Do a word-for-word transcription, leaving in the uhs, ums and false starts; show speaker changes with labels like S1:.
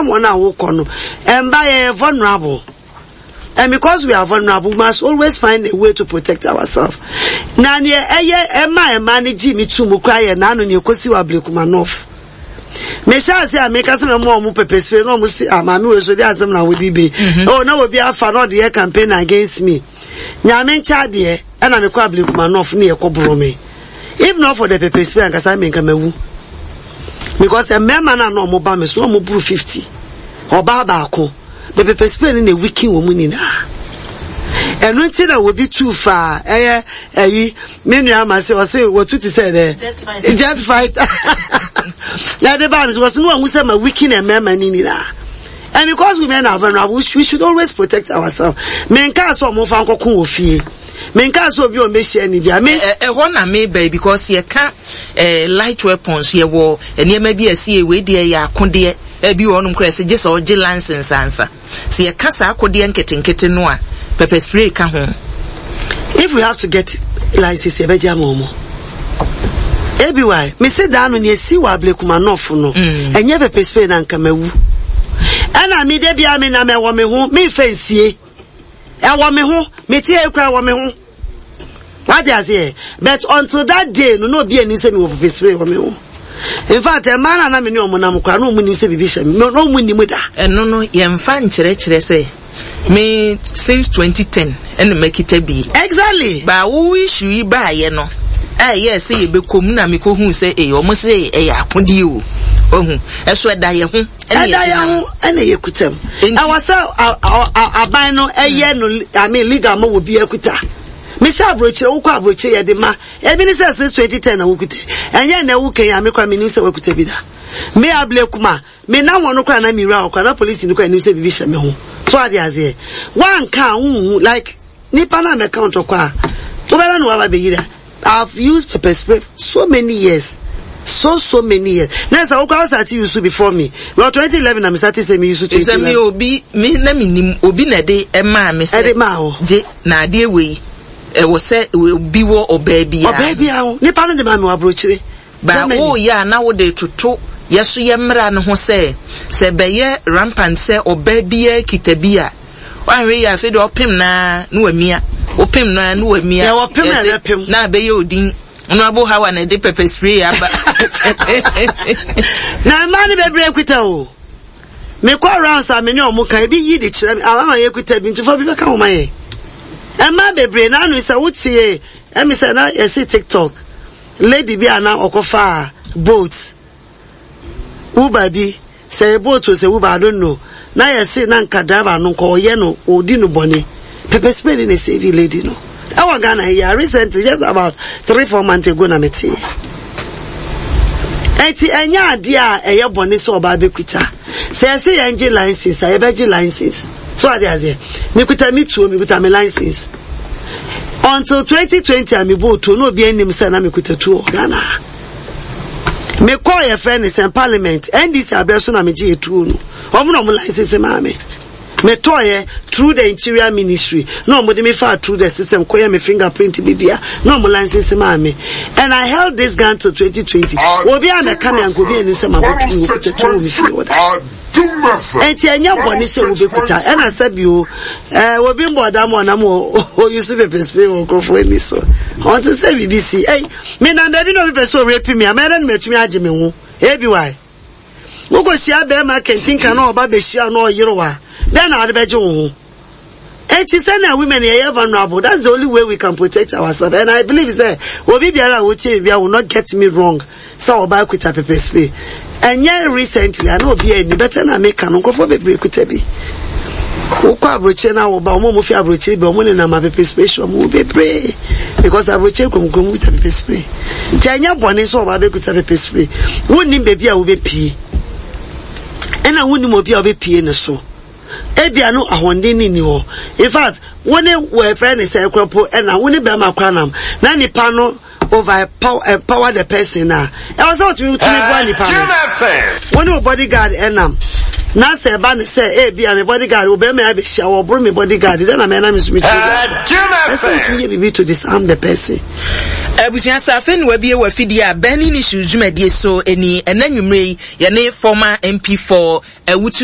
S1: wonam wɔn a wokɔ no, ɛmba yɛ vulnerable. And because we are vulnerable, we must always find a way to protect ourselves. Na neɛ ɛyɛ ɛma ɛma ne gye mi tu mu kora yɛ n'ano neɛ ekosi wɔ Ablekuma North. Mehyɛ ase a meka sɛ mɛmo ɔmo pepper spray na ɔmo si, "Ah, maame wei so de asɛm na wodi bi." Oh, na obi afa na ɔde yɛ campaign against me. Nyame nkyɛ adeɛ, ɛna mekɔ Ablekuma North ne yɛkɔ boro me. If not for the pepper spray, ankasa me nka mawu. Because mmarima no a na ɔmo ba me so, ɔmo buru fifty. Ɔbaa baako. The pepper spray no na weaken wɔ mu nyinaa. Ɛno nti na obi tu fa ɛyɛ ɛyi me nua ama sɛ ɔsɛ wɔtu ti sɛ dɛ jet fighter na ɛde baa mi so, wɔsɛ no wɔn sɛ ma weaken mmarima no nyinaa. And because women are vulnerable, we should always protect ourselves. Menka sɛ ɔmo fa nkɔko wɔ fie, menka sɛ obi a ɔmbɛhyia ni bia me.
S2: Ɛhɔ na meba, because yɛka eh, light weapons, yɛwɔ nneɛma bi a ɛsi wei deɛ yɛ akodeɛ, ebi wɔ hɔnom koraa sɛ gye sɛ ɔgye license ansa. Sɛ yɛka saa akodeɛ nketenkete no a, pepper spray ka ho?
S1: If we have to get license, yɛbɛgye ama ɔmo. Ebi wa mesi daa no nea esi wɔ Ablekuma North no, ɛnyɛ pepper spray na nka mawu. Ɛna mi de bia mi nam, ɛwɔ me ho, mi nfɛ nsie, ɛwɔ me ho, mi ti ekura ɛwɔ me ho, wate aseɛ? But until that day no, na obi anim sɛ mi wɔ pepper spray wɔ me ho. In fact, mmaa na na mi ne ɔmo nam kora na ɔmo nim sɛ bibi hyɛ mi na ɔmo nim da.
S2: Ɛno no yɛmfa nkyerɛkyerɛ sɛ me since twenty ten ɛna makita bi.
S1: Exactly.
S2: Ba wo issue yi baayɛ no a, ɛyɛ sɛ yɛbɛkɔ mu na mekɔhuu sɛ ee, ɔmo sɛ ɛyɛ akodeɛ o, ohu ɛso ɛda yɛ ho.
S1: Ɛda yɛn ho ɛna yɛ kuta mu. Ɛwɔ sɛ aban no ɛyɛ no, I mean, legal ma wɔ bi akuta. Mesi aburokyire, wokɔ aburokyire, yɛde ma ebi ne sɛ since twenty ten na wokuta. Ɛnyɛ na ɛwo kɛn ame kora mi nim sɛ wakuta bi da. Me Ablekuma, me nam wɔn kora na mi wura hɔ kora na polisi no kora nim sɛ bibi hyɛ me ho so ade aseɛ. Wanka a nhu like nipa na mɛka ntɔkwa a wobɛda no waba bɛyi da. I've used pepper spray so many years, so so many years na sɛ wokora start use before me. Well, twenty eleven na me start sɛ me use twenty eleven.
S2: Sɛ me obi me na me nim obi na ɛde ɛmaa me sɛ
S1: ɛde maa wo.
S2: Gye na adeɛ wei ɛwɔ sɛ obi wɔ ɔbaa biara.
S1: Ɔbaa biara ho, nipa no de maa me wɔ aburokyire.
S2: Ba woyɛ a na wode toto yɛso yɛ mmara no ho sɛ sɛ bɛyɛ rampant sɛ ɔbaa biara kita bi a, wahwɛ yi, afei deɛ ɔpem naa na wamia, ɔpem naa na wamia.
S1: Yɛ wɔpem na ɛbɛpem.
S2: Na abɛyɛ odin Honorable Hawa na ɛde pepper spray aba.
S1: Na mmaa no bebree kuta o. Mekɔ rounds a, me ne ɔmo ka ebi yi de kyerɛ me ama yɛ kuta bi ntufo bi bɛka ho ma yɛ. Mmaa bebree na ano sɛ wotie ɛmi sɛ na yɛsi TikTok lady bi a na ɔkɔfa Bolt, Uber bi, sɛ yɛ Bolt o, sɛ Uber, I don't know, na yɛsi na nka driver no nka ɔyɛ no, ɔdi no bɔne, pepper spray ne na save lady no. Ɛwɔ Ghana yi recently, just about three four months ago na me te. Eti ɛnyɛ adeɛ a ɛyɛ bɔne sɛ ɔbaa bɛkuta. Sɛ yɛsɛ yɛn gye license a, yɛbɛgye license so ade aseɛ. Mekuta mi tuo, mekuta mi license until twenty twenty a mebɔ tuo na obi anim sɛ na mekuta tuo wɔ Ghana. Mekɔɔ yɛfrɛ ne sɛ parliament, N D C abrɛ so na megye yɛ tuo no. Ɔmo na ɔmo license maa me. Metɔɔyɛ through the Interior Ministry na ɔmo de me fa through the system kɔyɛ me fingerprint bibia na ɔmo license maa me, and I held this gun till twenty twenty. Obi a mɛka me anka obi anim sɛ ma bɔ tuo kuta tuo wɔ me fie wɔ da. Eti ɛnyɛ bɔne sɛ wobɛkuta. Ɛna sɛ bio ɛɛ obi mbɔ ɔdam ɔnam oyi so pepper spray wɔ nkurɔfoɔ ani so, ɔnte sɛ biribi si. Ɛy, menam baabi na obi pɛ sɛ ɔrape mi a, mɛyɛ dɛ no matumi agye me ho. Ebi wae wokɔhyia bɛrima kɛntinka na ɔba bɛhyia na ɔyere wa dɛn na ɔde bɛgye wo ho? Eti sɛnea women yɛyɛ vulnerable, that's the only way we can protect ourselves. And I believe sɛ obi biara a wotie biribiara will not get me wrong sɛ ɔbaa kuta pepper spray. Ɛnyɛ recently ana obi ani bɛtɛ na meka no, nkurɔfoɔ bebree kuta bi. Wokɔ aburokyire na woba, ɔmo a ɔmo fi aburokyire bi, ɔmo nenam a pepper spray hyɛ ɔmo bebree, because aburokyire kurom kurom kuta pepper spray. Nti ɛnyɛ bɔne sɛ ɔbaa bɛkuta pepper spray. Wonnim baabi a wobɛpie, ɛna wonnim obi a wobɛpie ne so. Ebia no ahoɔden ne ni hɔ. In fact, wo ne wɔfrɛ ne sɛ kora ɛna wo ne bɛrima kora nam na nipa no over power, empower the person na ɛwɔ sɛ wotumi tumi boa nipa no. Wo ne wo bodyguard ɛnam na sɛ ɛba ne sɛ ebi a me bodyguard wo bɛrima yɛ abɛhyia, wɔboro me bodyguard dɛ na mɛ na me nso me tumi ɛsɛ wotumi yɛ biribi to disarm the person.
S2: Abusua, sɛ afei ne wabie wɔ afidie a, Burning Issues dwumadie so ani. Ɛna nwummerɛ yi yɛne former M P for Awutu